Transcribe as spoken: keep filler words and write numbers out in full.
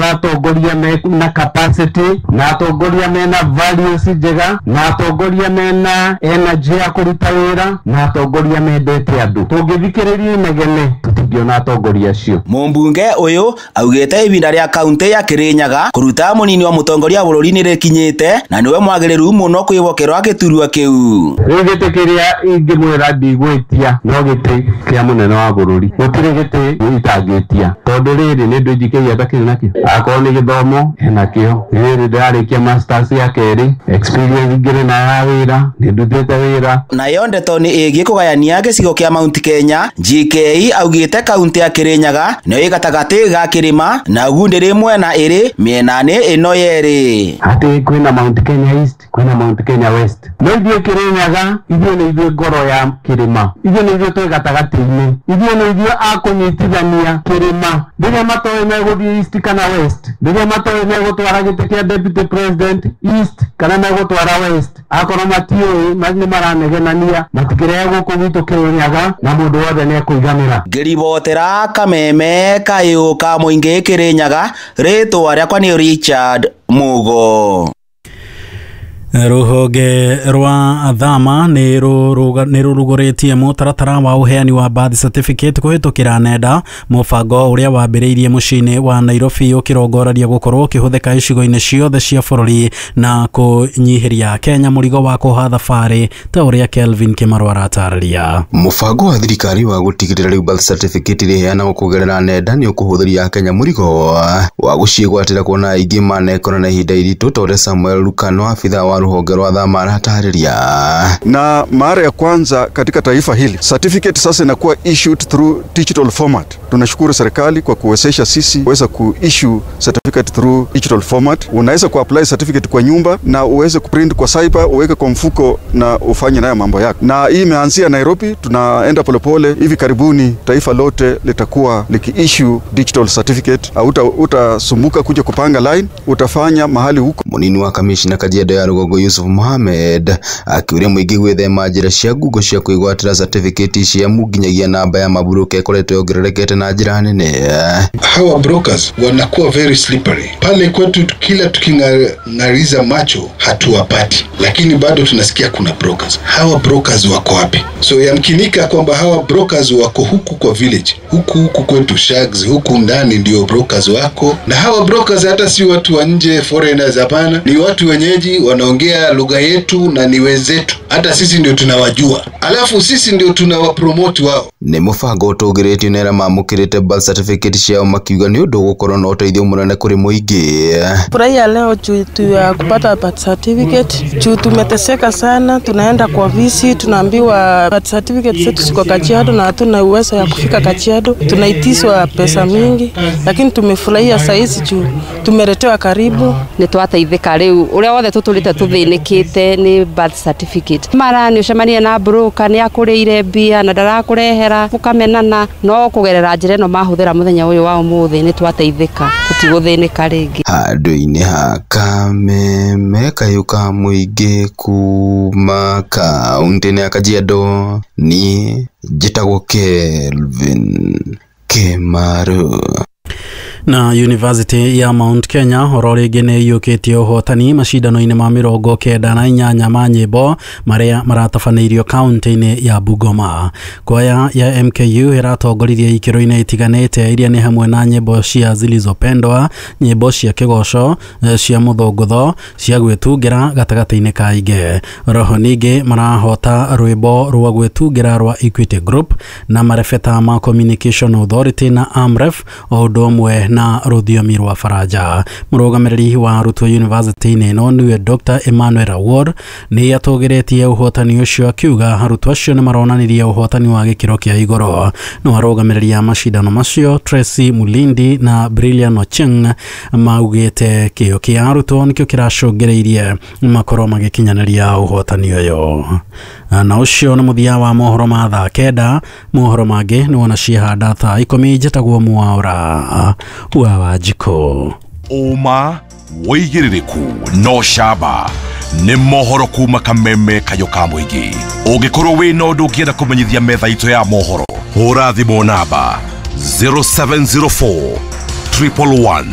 Tũrabatara atongoria mena capacity na atongoria mena values njega na atongoria mena energy ya kũruta wĩra na atongoria mendete andũ. Tũngĩthikĩrĩria inegene tũtingĩona atongoria acio. Mũmbunge ũyũ augĩte ihinda rĩa kaunti ya Kirinyaga kũruta mũnini wa mũtongoria wa bũrũri nĩrĩkinyĩte na nĩwe mwagĩrĩru mũno kwĩhokerwo gĩturwa kĩu. Rĩu gĩtĩ kĩrĩa ingĩmwĩra ndigwĩtia no gĩtĩ kĩa mũnene wa bũrũri. Gũtirĩ gĩtĩ itangĩtia tondũ rĩrĩ nĩ ndũ njikĩria atakĩrĩ nakĩo. Akorwo nĩ gĩthomo enakĩo, rĩrĩ ndĩrarĩkia masters ya kerĩ, experience ngĩrĩ nayo ya wĩra, nĩ ndutĩte wĩra. Nayo ndeto nĩ ĩgiĩ kũgayania gĩcigo kĩa Mount Kenya, G K augĩte kaunti ya Kirinyaga nĩyo ĩ gatagatĩ ga kĩrĩma na ũguo ndĩrĩ mwena ĩrĩ mĩena-inĩ ĩno yerĩ. Atĩ kwĩna Mount Kenya East, kwĩna Mount Kenya West, no ithuĩ Kirinyaga ithuĩ nĩ ithuĩ ngoro ya kĩrĩma, ithuĩ nĩ ithuĩ twĩ gatagatĩ-inĩ, ithuĩ nĩ ithuĩ a kũnyitithania kĩrĩma. Rĩrĩa matoĩ megũthiĩ East kana West, rĩrĩa matoĩ megũtwara gĩtĩ kĩa deputy president East kana megũtwara West, akorwo matiũĩ nĩ maranegenania, matikĩrehe gũkũ gwitũ Kirinyaga na mũndũ wothe nĩ ekũiganĩra. Ngĩribotera kameme kayũ ka mũingĩ Kirinyaga, rĩtwa rĩakwa nĩ Richard Mugo. Rũhonge rwa thama nĩ rũrugũrĩtie mũtaratara wa ũheani wa birth certificate kũhĩtũkĩra nenda, mũbango ũrĩa wambĩrĩirie mũciĩ-inĩ wa Nairobi ũkĩrongoreria gũkorwo ũkĩhũthĩka icigo-inĩ ciothe cia bũrũri na kũnyihĩria Kenya mũrigo wa kũha thabarĩ ta ũrĩa Kelvin Kĩmarũ aratarĩria. Mũbango wa thirikari wa gũtigĩrĩra rĩu birth certificate ĩrĩheanagwo kũgerera nenda nĩ ũkũhũthĩria Kenya mũrigo wa gũciĩgwatĩra, kuona aingĩ manekora na ihinda iritũ, ta ũrĩa Samuel Lukano, abithaa wa rũhonge rwa thama, aratarĩria. Na mara ya kwanza katika taifa hili certificate sasa inakuwa issued through digital format. Tunashukuru serikali kwa kuwezesha sisi kuweza kuissue certificate through digital format. Unaweza kuapply certificate kwa nyumba na uweze kuprint kwa cyber, uweke kwa mfuko na ufanye nayo mambo yako. Na hii imeanzia Nairobi, tunaenda polepole. Hivi karibuni taifa lote litakuwa likiissue digital certificate. Hauta utasumbuka kuja kupanga line, utafanya mahali huko. Munini wa kamishna Kajiado ya Rũgongo Yusuf Mohamed akiuria mũingĩ gwĩthema njĩra cia ngungo cia kwĩgwatĩra certificate ici, amu nginyagia namba ya maburoka ĩkoretwo yongererekete na njĩra nene. Hawa brokers wanakuwa very slippery pale kwetu, kila tuking'ariza macho hatuwapati, lakini bado tunasikia kuna brokers. Hawa brokers wako wapi? So yamkinika kwamba hawa brokers wako huku kwa village, huku huku kwetu shags, huku ndani ndio brokers wako, na hawa brokers hata si watu wa nje, foreigners, hapana, ni watu wenyeji wanaongea lugha yetu na ni wenzetu, hata sisi ndio tunawajua, alafu sisi ndio tunawapromote wao. Nĩ mũbango ũtũgĩrĩtio nĩ arĩa mamũkĩrĩte birth certificate ciao, makiuga nĩ ũndũ ũgũkorwo na ũteithio mũnene kũrĩ mũingĩ. Furahia leo juu tu ya kupata birth certificate, juu tumeteseka sana, tunaenda kwa ofisi tunaambiwa birth certificate zetu ziko Kajiado na hatuna uwezo ya kufika Kajiado, tunaitishwa pesa mingi, lakini tumefurahia saizi juu tumeletewa karibu. Nĩ twateithĩka rĩu ũrĩa wothe tũtũrĩte tũthĩnĩkĩte nĩ birth certificate, mara nĩ ũcemania na broker nĩ akũrĩire mbia na ndarakũrehera, mũkamenana, no kũgerera njĩra ĩno mahũthĩra mũthenya ũyũ wa ũmũthĩ nĩ twateithĩka, tũtigũthĩnĩka rĩngĩ. Handũ-inĩ ha kameme kayũ ka mũingĩ kuma kaunti-inĩ ya Kajiado, niĩ njĩtagwo Kelvin Kĩmaru. Na University ya Mount Kenya oro rĩngĩ nĩ ĩiyũkĩtie ũhotani macindano-inĩ ma mĩrongo kenda na inyanya ma nyĩmbo marĩa maratabanĩirio kaunti-inĩ ya Bungoma. Kwaya ya M K U ĩratongoririe ikĩro-inĩ itiganĩte iria nĩ hamwe na nyĩmbo cia zilizopendwa, nyĩmbo cia kĩgoco, cia mũthũngũtho, cia gwĩtungĩra gatagatĩ-inĩ ka ingĩ. Roho ningĩ marahota rwĩmbo rwa gwĩtungĩra rwa Equity Group na marebeta ma Communication Authority na AMREF, o ũndũ ũmwe na rũthiomi rwa Faranja. Mũrũgamĩrĩri wa arutwo university-inĩ ĩno nĩwe Doctor Emmanuel Award nĩ atũgĩrĩtie ũhotani ũcio, akiuga arutwo acio nĩ maronanirie ũhotani wa gĩkĩro kĩa igũrũ. No arũgamĩrĩri a macindano macio Tracy Mulindi na Brilliant Ocheng maugĩte kĩo kĩa arutwo nĩkĩo kĩracũngĩrĩirie makorwo magĩkinyanĩria ũhotani ũyũ. Na ũcio nĩ mũthia wa mohoro ma thaa kenda. Mohoro mangĩ nĩ wona ciehanda thaa ikũmi. Njĩtagwo Mwaũra wa Wanjikũ. Ũma, wĩigĩrĩrĩku no camba nĩ mohoro kuma kameme kayũ ka mũingĩ. Ũngĩkorwo wĩna ũndũ ũngĩenda kũmenyithia metha itũ ya mohoro, hũra thimũ namba zero seven zero four triple one.